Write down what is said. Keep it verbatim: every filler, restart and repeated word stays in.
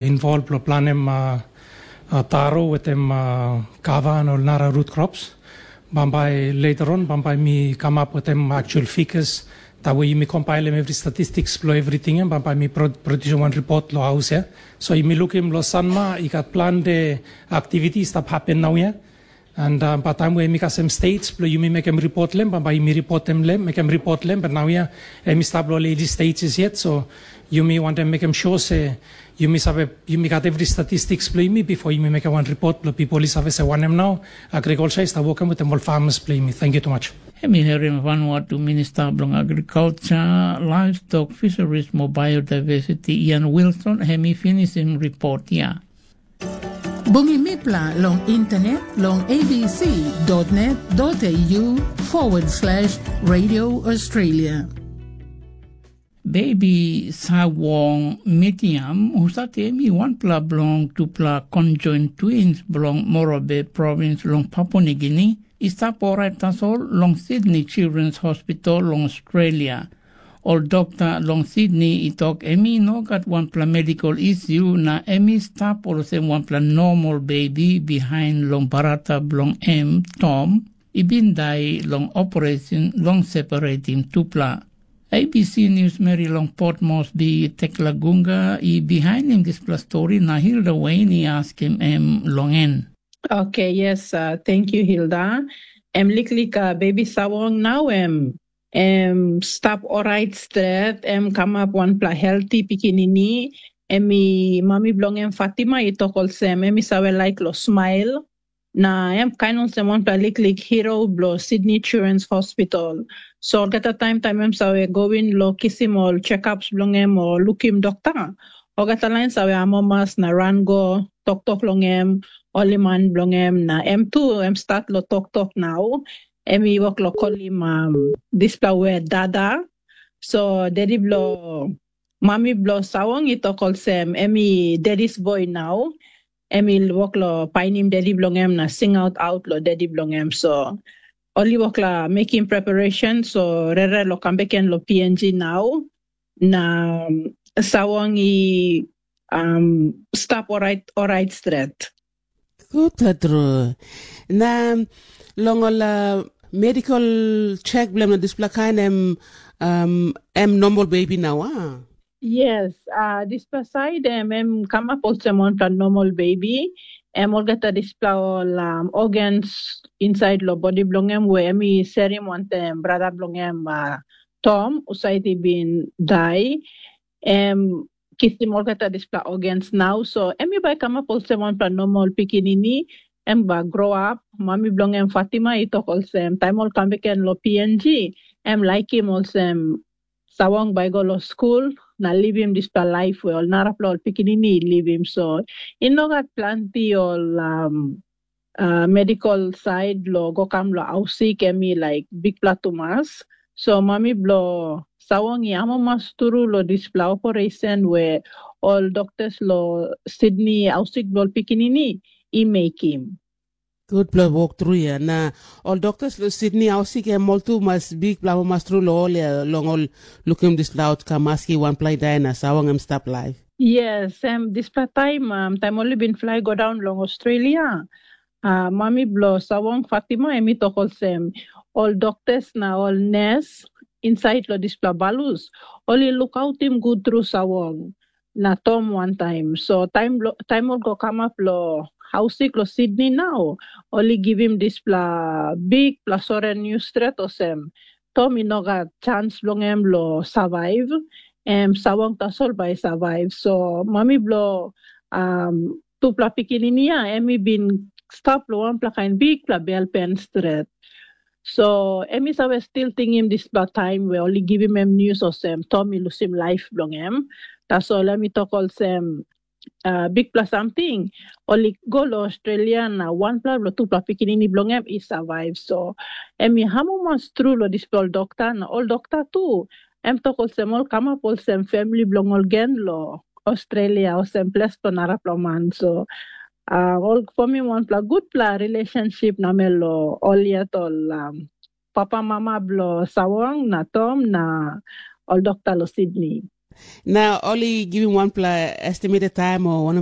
involve lo planem uh, uh, taro wetem uh, kava na ol nara root crops. Bambai later on, bambai mi come up wetem actual figures. That way mi compileim every statistics lo everything, em bambai mi pro- produce one report lo house ya. So mi lookim lo Sanma, i got plan de activities that happen now ya. And um, by time we mi kasem states, blo yumi mekem report lem, bambai mi report them lem, mekem report lem, but now ya, em stop lo early stages yet. So yumi want them mekem sure se yumi save, yumi got every statistics blo yumi before yumi mekem one report blo people is save se wanem now, agriculture is working with them all farmers blo yumi. Thank you too much. Em i herim Vanuatu Minista bilong Agriculture, Livestock, Fisheries mo Biodiversity Ian Wilson, em i finisim ripot ya. Bungim mipela long internet long A B C dot net dot A U forward slash Radio Australia. Baby Sawong Mitiam, husat em i wanpela bilong tupela conjoint twins bilong Morobe provins long Papua Nigini, i stap orait tasol long Sydney Children's Hospital long Australia. Ol dokta long Sydney i tok em i no gat wanpela medical issue na em i stap olsem wanpela normal baby bihain long barata bilong em, Tom, i bin dai long operation long separatim tupela. A B C News Mary long Port Moresby, Tekla Gunga, i bihainim dispela stori na Hilda Wayne i askim em long en. Okay, yes, uh, thank you, Hilda. Em liklik uh, baby Sawong now em em stap orait stret, em kamap wanpela healthy pikinini. Em i mami bilong em Fatima i tok olsem, em i save laik lo smile. Na em kain olsem wanpela liklik hero bilong Sydney Children's Hospital. So olgeta taim taim em save go in lo kisim ol checkups bilong em o lukim dokta, olgeta lain save amamas na ran go toktok long em, ol i man bilong em, na em tu em stat lo toktok nau. Em i wok lo kolim um, dispela word dada. So dedi bilong mami bilong Sawong i tok olsem, em i daddy's boy nau. Em i wok lo painim dedi bilong em na singaut aut lo dedi bilong em. So ol i wok la mekim preparation, so rere lo kam beken lo P N G nau. Na um, Sawong i um, stap orait, orait stret. Gutpela tru. Na long ol uh, medical check bilong na dispela kain em um, em normal baby nau, a? Yes, uh, dispela side em, em kamap olsem wanpela normal baby. Em olgeta dispela ol um, organs inside lo body bilong em we em i serim wantem brata bilong em uh, Tom, usait i bin dai. Em kisim olgeta dispela organs nau, so em i bai kamap olsem wanpela normal pikinini. Em bai grow up. Mami bilong em Fatima i tok olsem, taim ol kam beken lo P N G, em laikim olsem Sawong bai go lo skul na livim dispela laip we ol narapela ol pikinini i livim. So i no gat planti ol um, uh, medical side lo go kam lo ausik em i like bikpela tumas. So mami blo Sawong i amamas turu lo dispela operation we ol doktas lo Sydney ausik blo pikinini i mekim. Gutpela wok tru ya. Na ol doktas lo Sydney ausik em ol tu mas bikpela amamas tru lo ol ya long ol lukim dispela outcome maski wanpela i dai na Sawong em stap laip. Yes, em dispela taim um, taim ol i bin flai go daun long Australia, uh, mami bilong Sawong Fatima em i tok olsem, ol doktas na ol nes insait long dispela balus, ol i lukautim gut tru Sawong na Tom wantaim. So taim, taim ol go kamap long hausik long Sydney nau, ol i givim dispela bikpela sore nius stret olsem, Tom i no gat chans bilong em long survive, em Sawong tasol bai i survive. So mami bilong um, tupela pikinini ya, em i bin stap long wanpela kain bikpela bel pen stret. So em i save stil tingim dispela taim we ol i givim em nius olsem Tom i lusim laip bilong em. Tasol em i tok olsem, uh, bikpela samting, ol i go long Australia na wanpela bilong tupela pikinini bilong em i survive. So em i amamas tru long dispela ol dokta na ol dokta tu, em tok olsem ol kamap olsem family bilong ol gen long Australia, olsem ples bilong narapela man. So uh, ol fomim wanpela gutpela relationship namel long ol yet ol um, papa mama bilong Sawong na Tom na ol dokta long Sydney. Na ol i givim wanpela estimated time o